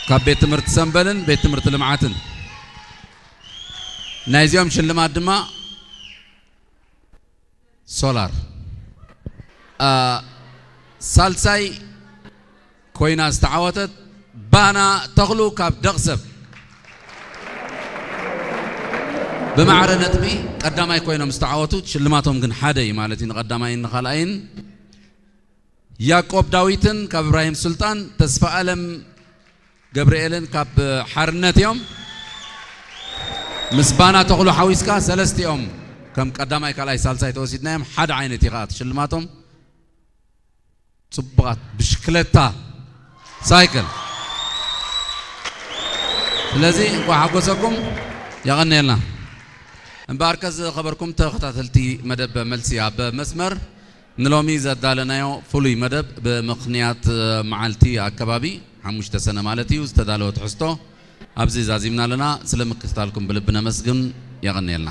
ካብ ቤት ትምህርቲ ሰምበልን ቤት ትምህርቲ ልምዓትን። ናይዚኦም ሽልማት ድማ ሶላር። አ፣ ሳልሳይ ኮይና ዝተዓወተት ባና ተኽሉ ካብ ደቕሰብ ብማዕረ ነጥቢ ቀዳማይ ኮይኖም ዝተዓወቱ፣ ሽልማቶም ግን ሓደ እዩ ማለት እዩ፣ ንቐዳማይን ንኻልኣይን። ያዕቆብ ዳዊትን ካብ እብራሂም ሱልጣን፣ ተስፋ ኣለም ገብርኤልን ካብ ሓርነት እዮም። ምስ ባና ተኽሉ ሓዊስካ ሰለስቲኦም ከም ቀዳማይ፣ ካልኣይ፣ ሳልሳይ ተወሲድናዮም፣ ሓደ ዓይነት እዩ ከዓ እቲ ሽልማቶም። ጽቡቓት ብሽክለታ፣ ሳይክል። ስለዚ እንኳዕ ሓጎሰኩም፣ የቐንየልና። እምበኣርከ ዝኸበርኩም ተኸታተልቲ መደብ መልሲ ኣብ መስመር፣ ንሎሚ ዘዳለናዮ ፍሉይ መደብ ብምኽንያት መዓልቲ ኣከባቢ ሓሙሽተ ሰነ ማለት እዩ ዝተዳለወ ትሕዝቶ ኣብዚ ዛዚምና ኣለና። ስለ ምክትታልኩም ብልቢ ነመስግን። የቐንየልና።